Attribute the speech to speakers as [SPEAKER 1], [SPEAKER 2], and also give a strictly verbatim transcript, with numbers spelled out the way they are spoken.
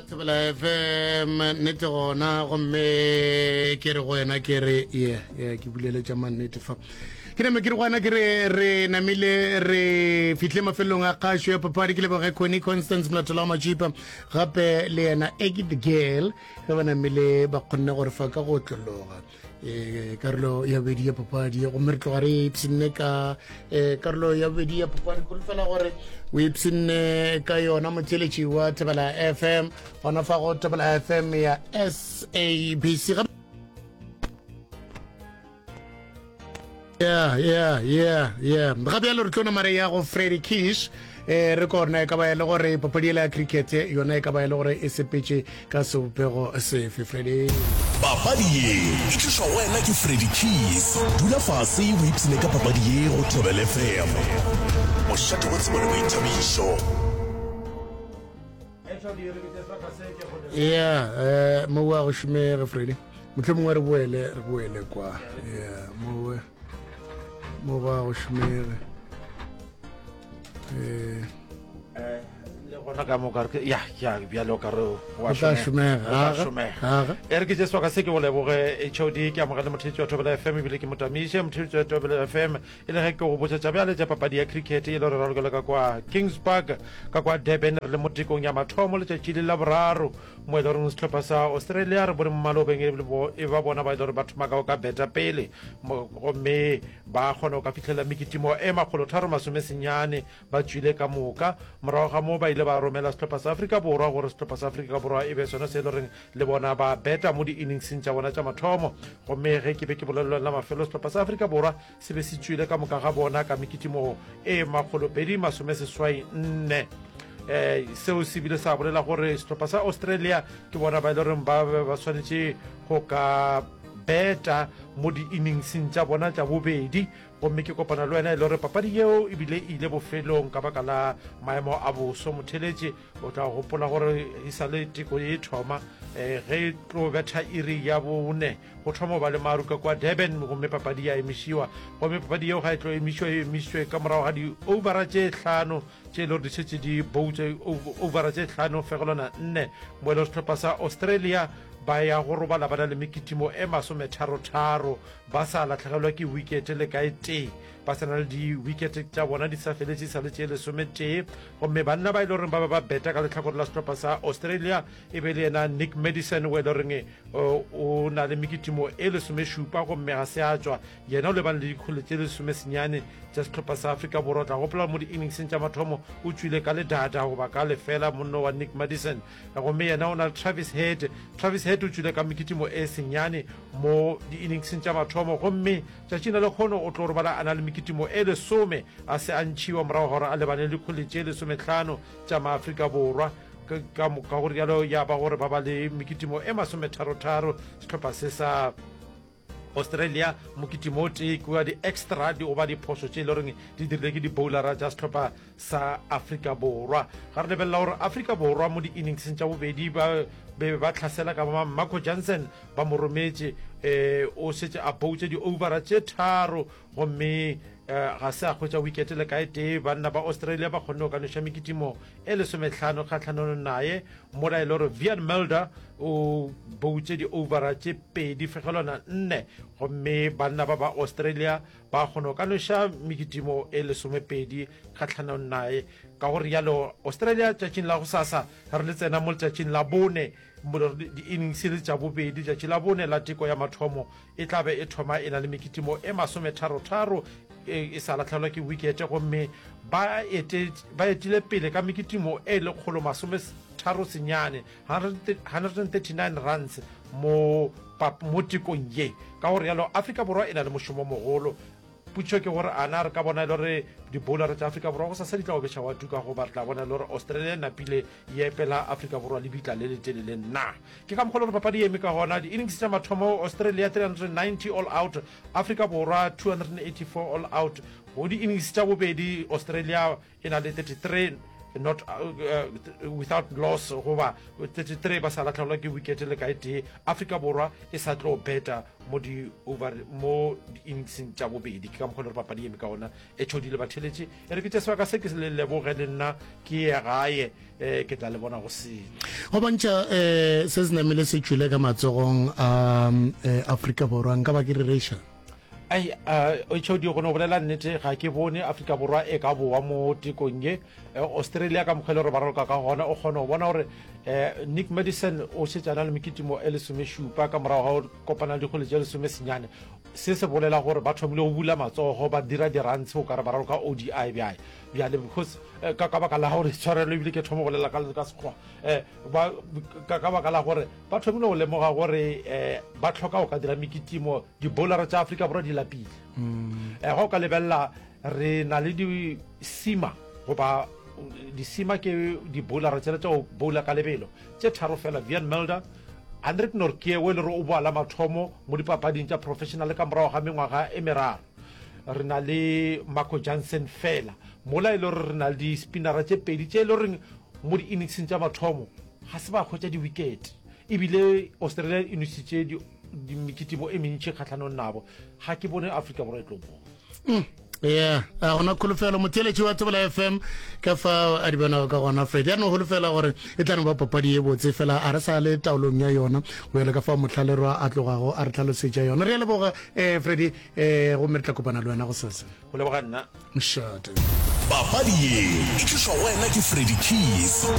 [SPEAKER 1] Thobela F M, nnete gona. Gomme ke re go wena, ke re ye ye ke buleletša mannete fa, ke name ke re go wena, ke re re namile re fitlhe mafelong a kgašo ya papadi. Ke leboge Connie Constance Molatola wa Majipa, gape le yena Eki the Girl, ge ba namile ba kgonne gore fa ka go otlologa um karolo ya bobedi ya papadi. Gomme re tloga re ipshinne ka um karolo ya bobedi ya papadi. Fela gore o ipshinne ka yona, motheletši wa Thobela F M, gona fa go Thobela F M ya S A B C. yeah yeah yeah yeah ga bjalo re tlo namare ya go Freddy Kish, eh re kona e ka ba e le gore papadi ela ya cricket yona e ka ba e le gore e sepetše ka sebopego sefe, Freddy?
[SPEAKER 2] Papadi ye e tlišwa go wena ke Freddy Keys. Dula fase o ipshine ka papadi ye go Thobela F M, mošate wa tsebo le boithabišo.
[SPEAKER 1] Yeah, eh mo wa go šomege, Freddy. Motlho mongwe re boele re boele kwa. Yeah, mo mo wa go šomege eh
[SPEAKER 3] Le gona ka moka re ya ya bjalo ka re
[SPEAKER 1] wa tla šomega.
[SPEAKER 3] Aga aga e re ke tše sebaka se ke go leboge H O D, ke amogele motheetši wa Thobela F M, ebile ke motamiše motheetši wa Thobela F M, e le ge ke go botša tša bjale tša papadi ya cricket e le gore ralokela ka kwa Kings Park ka kwa Durban. Re le mo tekong ya mathomo letšatši le la boraro, mo e le goreng sehlopha sa Australia re bone mo malobeng e ba bona ba e le gore ba thoma ka go ka beta pele, gomme ba kgona go ka fihlela mekitimo e makgolo tharo masome senyane ba tšwile ka moka. Morago ga moo ba ile ba romela sehlopha sa Afrika Borwa gore sehlopha sa Afrika Borwa e be sona se e le goreng le bona ba beta mo di-inningseng tša bona tša mathomo. Gomme ge ke be ke bolelelwa la mafelo, sehlopha sa Afrika Borwa se be se tšwile ka moka ga bona ka mekitimo e makgolo pedi masome seswai nne. um seo se bile sa bolela gore sehlopha sa Australia ke bona ba e le goreng ba be ba swanetše go ka beta mo di-inningseng tša bona tša bobedi. Gomme ke kopana le wena e le gore papadi yeo ebile e ile bofelong ka baka la maemo a boso. Motheletše o tla gopola gore e sa le teko e thoma, um ge e tlo betha iri ya bone go thoma ba le maru ka kwa Durban, gomme papadi ya emišiwa. Gomme papadi yeo ga e tlo emišiwa, e emišwe ka morago ga di-overa tše hlano tše e le gore di šetše di boutse, overa tše hlano fegelwana nne, mo e le sehlopha sa Australia ba ya go robala ba na le mekitimo e masometharo-tharo, ba sa latlhegelwa ke wicket le kae tee, ba sa na le di-wicket tša bona di sa feletše, sa le tše lesometee. Gomme banna ba e le goreng ba ba ba beta ka letlhakore la sehlopha sa Australia e be le yena Nick Madison, o e le goreng o na le mekitimo e lesomešupa gomme ga se a tšwa. Yena o lebane le dikgole tše lesomesenyane tša sehlopha sa Afrika Borwa. Tla gopola mo di-inningseng tša mathomo o tšwile ka ledada goba ka lefela monno wa Nick Madison. Gomme yena o na le Travis Head. Travis Head o tšwile ka mekitimo e senyane mo di-inningseng tša mathomo, gomme tšatšing la lekgono o tlo robala a na le mekitimo e lesome, a se a ntšhiwa, morago gore a lebane le dikgole tše lesomehlano tša Maafrika Borwa. Ka gore jalo ya ba gore ba ba le mekitimo e masometharotharo sehlopha se sa Australia, mokitimo o tee kua di-extra di goba diphošo tše e le goreng di dirile ke di-bowlara tša sehlopha sa Afrika Borwa. Ga re lebelela gore Afrika Borwa mo di-inningseng tša bobedi ba be ba tlhasela ka ba Marco Jansen, ba mo rometše, um o šetše a boutše di-overa tše tharo gomme um ga se a hwetša wicket le kae tee. Banna ba Australia ba kgonne go ka noša mekitimo e lesomehlano kgatlhanong naye, mola e le gore Wiaan Mulder o boutše di-overa tše pedi fegelwana nne, gomme banna ba ba Australia ba kgona go ka noša mekitimo e lesomepedi kgatlhanong naye. Ka gore jalo Australia tšatšing la go sasa re le tsena mo letšatšing la bone di-innings le tša bobedi, letšatši la bone la teko ya mathomo, e tla be e thoma e na le mekitimo e masometharotharo, e sa latlhelwa ke wikete, gomme ba etile pele ka mekitimo e lekgolo masometharo senyane, one hundred thirty-nine runs, mo mo tekong ye. Ka gore jalo Afrika Borwa e na le mošomo mogolo. Potšišo ke gore ana re ka bona e le gore di-bowler tša Afrika Borwa go sasa di tla obeša wa tuka, goba re tla bona e le gore Australia e napile e epela Afrika Borwa lebitla le letelele na? Ke ka mokgwa le gore papadi e eme ka gona. Di-innings tša mathomo, Australia three hundred ninety all out, Afrika Borwa two hundred eighty-four all out. Go di-innings tša bobedi, Australia e na le thirty-three not uh, without loss goba thirty-three ba sa latlhegelwa ke wicket le ka e tee. Afrika Borwa e sa tlo beta mo di over mo di-inningseng tša bobedi. Ke ka mokgwa le gore papadi eme ka ona e tšhodile batheletše. E re ke tše sebaka se ke se le leboge le nna ke ye gae, um ke tla le bona go sele.
[SPEAKER 1] Go bontšha um se se namile se tšwile ka matsogong a um, Afrika Borwa, nka ba ke re reša.
[SPEAKER 3] Ai, uh, H O D, go no bolela nnete, ga ke bone Afrika Borwa e ka boa mo tekong ye. Eh, Australia ka mokgwa e le gore ba raloka ka gona, o kgona go bona gore um Nick Madison o šetše a na le mekitimo e lesomešupa ka morago ga go kopana le dikgwele tše lesomesenyane. Se se bolela gore ba thomile go bula matsogo, ba dira di-runs o kare ba raloka O D I bjae bjale, because eh, ka ka baka la gore, tshwarelo, ebile ke thoma go bolela ka ka sekgowa, um ba ka ka baka la gore ba thomile go lemoga gore um ba tlhoka go ka dira mekitimo. Di-bowlera tša Afrika Borwa di lapile. um ga o ka lebelela, re na le di-seamer, goba di-seamer ke di-bowlera tsela tša go bowla ka lebelo, tše tharo fela: Wiaan Mulder, Anrich Nortje o e le gore o boa la mathomo mo dipapading tša professional ka morago ga mengwaga e meraro, re na le Marco Jansen fela. Mola e le gore re na le di-spinnera tše pedi tše e le goreng mo di-inningseng tša mathomo ga se ba hwetša di-wicket, ebile Australia e nositše di- mekitimo e mentši kgatlhanong nabo. Ga ke bone Afrika Borwa e tlo boa.
[SPEAKER 1] Yeah, a gona kholofelo. Motheeletši wa Thobela F M, ka fa a di bonago ka gona Fred, ya no holofela gore e tla no ba papadi ye botse fela. A re sa le taolong ya yona go ya le ka fa motlhalerwa a tlogago a re tlhalosetša yona. Re a leboga, um Freddy, um gomme re tla kopana le wena go sese.
[SPEAKER 3] Go leboga nna.
[SPEAKER 1] Mošate.
[SPEAKER 2] Papadi ye e tlišwa go wena ke Freddy Keys.